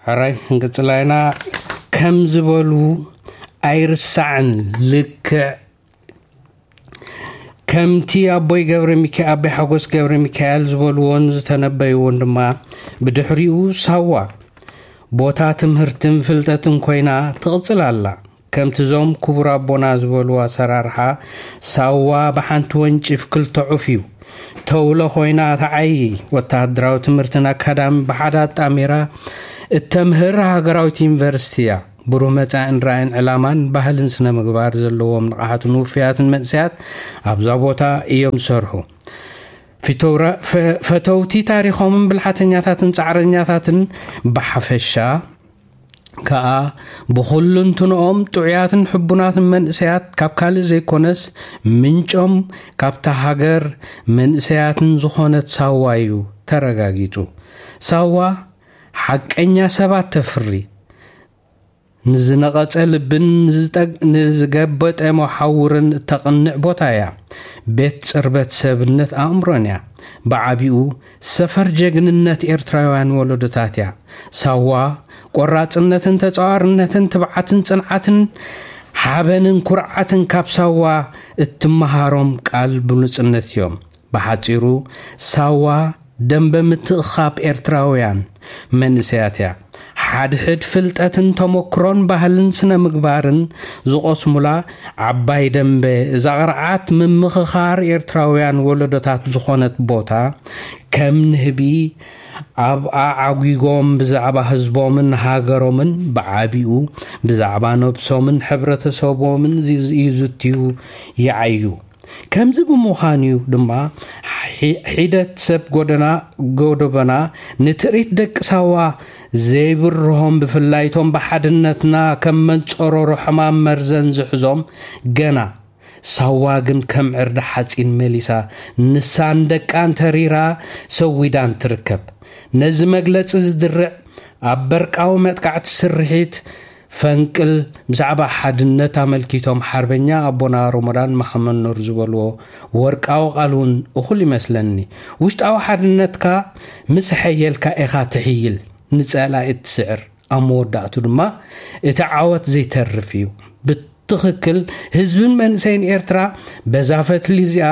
ሕራይ ክንቅጽላ ኢና። ከም ዝበሉ ኣይርሳዕን። ልክዕ ከምቲ ኣቦይ ገብረ ሚካ ኣቦይ ሓጎስ ገብረ ሚካኤል ዝበልዎን ዝተነበይዎን ድማ፣ ብድሕሪኡ ሳዋ ቦታ ትምህርትን ፍልጠትን ኮይና ትቕጽል ኣላ። ከምቲ ዞም ክቡር ኣቦና ዝበልዎ ኣሰራርሓ፣ ሳዋ ብሓንቲ ወንጭፍ ክልተ ዑፍ እዩ። ተውለ ኮይና ትዓዪ። ወተሃደራዊ ትምህርትን ኣካዳሚ ብሓደ ኣጣሚራ እተምህር ሃገራዊት ዩኒቨርሲቲ እያ። ብሩህ መጻእን ራእይን ዕላማን ባህልን ስነ ምግባር ዘለዎም ንቕሓትን ውፍያትን መንእሰያት ኣብዛ ቦታ እዮም ዝሰርሑ። ፊተውራ-፣ ፈ-፣ ፈተውቲ ታሪኾምን ብልሓተኛታትን ጻዕረኛታትን ብሓፈሻ ከኣ ብኹልንትንኦም ጥዑያትን ሕቡናትን መንእሰያት ካብ ካልእ ዘይኮነስ ምንጮም ካብታ ሃገር መንእሰያትን ዝኾነት ሳዋ እዩ ተረጋጊጹ። ሳዋ ሓቀኛ ሰባት ተፍሪ። ንዝነቐጸ ልብን ንዝጠግ-፣ ንዝገበጠ መሓውርን እተቕንዕ ቦታ እያ። ቤት ጽርበት ሰብነት ኣእምሮን እያ። ብዓቢኡ ሰፈር ጀግንነት ኤርትራውያን ወለዶታት እያ። ሳዋ ቆራጽነትን ተጻዋርነትን ትብዓትን ጽንዓትን ሓበንን ኩርዓትን ካብ ሳዋ እትመሃሮም ቃል ብሉጽነት እዮም። ብሓጺሩ ሳዋ ደንበ ምትእኻብ ኤርትራውያን መንእሰያት እያ። ሓድሕድ ፍልጠትን ተመክሮን ባህልን ስነ ምግባርን ዝቐስሙላ ዓባይ ደንበ እዛ ቅርዓት ምምኽኻር ኤርትራውያን ወለዶታት ዝኾነት ቦታ፣ ከም ንህቢ ኣብ ኣዓጒጎም ብዛዕባ ህዝቦምን ሃገሮምን ብዓቢኡ ብዛዕባ ነብሶምን ሕብረተሰቦምን ይዝ-፣ ይዝትዩ ይዓዩ። ከምዚ ብምዃኑ እዩ ድማ ሒ-፣ ሒደት ሰብ ጎደና፣ ጎደቦና ንትርኢት ደቂ ሳዋ ዘይብርሆም፣ ብፍላይ እቶም ብሓድነትና ከም መንጸሮሮ ሕማም መርዘን ዝሕዞም። ገና ሳዋ ግን ከም ዕርዲ ሓጺን መሊሳ ንሳን ደቃን ተሪራ ሰዊዳን ትርከብ። ነዚ መግለጺ ዝድርዕ ኣብ በርቃዊ መጥቃዕቲ ስርሒት ፈንቅል ብዛዕባ ሓድነት ኣመልኪቶም ሓርበኛ ኣቦና ሮሞዳን መሓመድ ኑር ዝበልዎ ወርቃዊ ቃል እውን እኹል ይመስለኒ። ውሽጣዊ ሓድነትካ ምስ ኣሐየልካ ኢኻ ትሕይል፣ ንጸላኢ እትስዕር። ኣብ መወዳእቱ ድማ እቲ ዓወት ዘይተርፍ እዩ። ብትኽክል ህዝብን መንእሰይን ኤርትራ በዛ ፈትሊ እዚኣ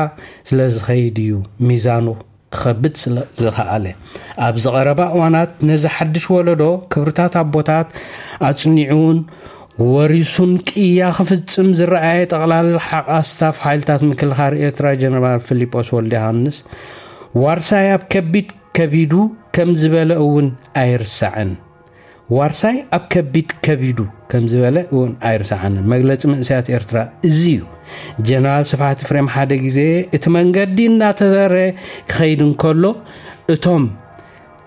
ስለ ዝኸይድ እዩ ሚዛኑ ክኸብድ ስለ ዝኸኣለ። ኣብዚ ቀረባ እዋናት ነዚ ሓድሽ ወለዶ ክብርታት ኣቦታት ኣጽኒዑን ወሪሱን ቅያ ክፍጽም ዝረኣየ ጠቕላላ ሓቓ ስታፍ ሓይልታት ምክልኻል ኤርትራ ጀነራል ፊሊጶስ ወልደ ዮሃንስ፣ ዋርሳይ ኣብ ከቢድ ከቢዱ ከም ዝበለ እውን ኣይርሳዕን። ዋርሳይ ኣብ ከቢድ ከቢዱ ከም ዝበለ እውን ኣይርሳዕንን። መግለጺ መንእሰያት ኤርትራ እዚ እዩ። ጀነራል ስብሓት ኤፍሬም ሓደ ግዜ እቲ መንገዲ እናተዘረ ክኸይድ እንከሎ እቶም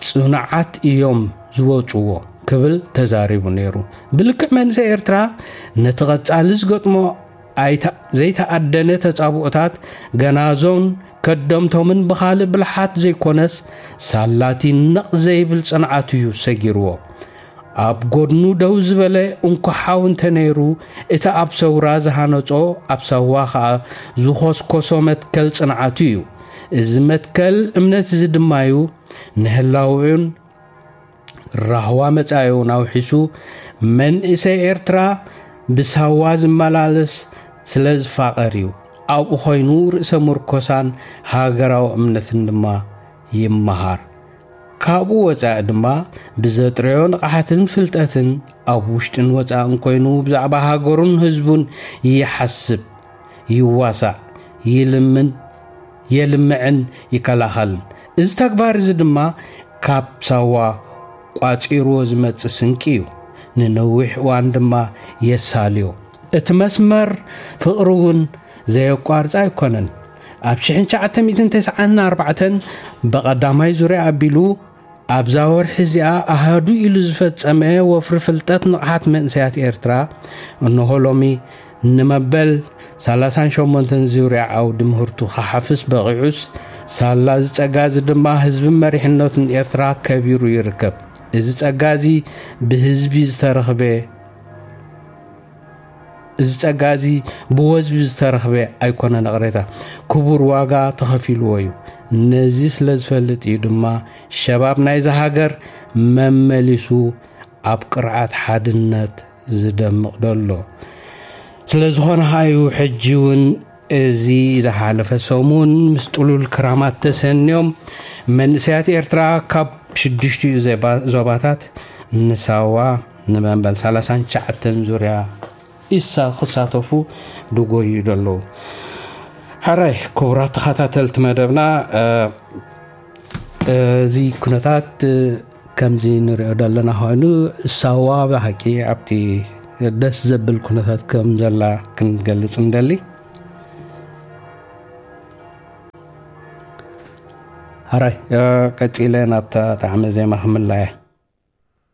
ጽኑዓት እዮም ዝወጽዎ ክብል ተዛሪቡ ነይሩ። ብልክዕ መንእሰይ ኤርትራ ነቲ ቀጻሊ ዝገጥሞ ኣይተ-፣ ዘይተኣደነ ተጻብኦታት ገናዞን ከደምቶምን ብኻልእ ብልሓት ዘይኮነስ ሳላቲ ነቕ ዘይብል ጽንዓቱ እዩ ሰጊርዎ። ኣብ ጎድኑ ደው ዝበለ እንኮ ሓው እንተ ነይሩ፣ እቲ ኣብ ሰውራ ዝሃነጾ፣ ኣብ ሳዋ ኸኣ ዝኾስኮሶ መትከል ጽንዓቱ እዩ። እዚ መትከል እምነት እዚ ድማ እዩ ንህላውኡን ራህዋ መጻኢኡን ኣውሒሱ፣ መንእሰይ ኤርትራ ብሳዋ ዝመላለስ ስለ ዝፋቐር እዩ። ኣብኡ ኮይኑ ርእሰ ምርኮሳን ሃገራዊ እምነትን ድማ ይመሃር። ካብኡ ወጻኢ ድማ ብዘጥረዮ ንቕሓትን ፍልጠትን ኣብ ውሽጥን ወጻእን ኮይኑ ብዛዕባ ሃገሩን ህዝቡን ይሓስብ፣ ይዋሳእ፣ ይልምን፣ የልምዕን ይከላኸልን። እዚ ተግባር እዚ ድማ ካብ ሳዋ ቋጺርዎ ዝመጽእ ስንቂ እዩ። ንነዊሕ እዋን ድማ የሳልዮ። እቲ መስመር ፍቕሪ እውን ዘየቋርጽ ኣይኮነን። ኣብ ሽሕን ትሽዓተ ሚእትን ተስዓን ኣርባዕተን ብቐዳማይ ዙርያ ኣቢሉ ኣብዛ ወርሒ እዚኣ ኣሃዱ ኢሉ ዝፈጸመ ወፍሪ ፍልጠት ንቕሓት መንእሰያት ኤርትራ፣ እንሆ ሎሚ ንመበል ሰላሳን ሸሞንተን ዙርያ ዓውዲ ምህርቱ ክሓፍስ በቒዑስ፣ ሳላ እዚ ጸጋ እዚ ድማ ህዝብን መሪሕነቱን ኤርትራ ከቢሩ ይርከብ። እዚ ጸጋ እዚ ብህዝቢ ዝተረኽበ፣ እዚ ጸጋ እዚ ብወዝቢ ዝተረኽበ ኣይኮነን፣ ይቕሬታ፣ ክቡር ዋጋ ተኸፊልዎ እዩ። ነዚ ስለ ዝፈልጥ እዩ ድማ ሸባብ ናይዛ ሃገር መመሊሱ ኣብ ቅርዓት ሓድነት ዝደምቕ ዘሎ። ስለ ዝኾነ ሃዩ ሕጂ እውን እዚ ዝሓለፈ ሰሙን ምስ ጥሉል ክራማት ተሰንዮም መንእሰያት ኤርትራ ካብ ሽዱሽቲኡ ዜባ- ዞባታት ንሳዋ ንመንበል ሰላሳን ትሽዓተን ዙርያ ኢሳ ክሳተፉ ድጎዩ ዘለዉ። ሕራይ ክቡራት ተኸታተልቲ መደብና፣ እዚ ኩነታት ከምዚ ንሪኦ ዘለና ኮይኑ፣ ሳዋ ብሓቂ ኣብቲ ደስ ዘብል ኩነታት ከም ዘላ ክንገልጽ ንደሊ። ሕራይ ቀጺለ ናብታ ጣዕመ ዜማ ክምለያ።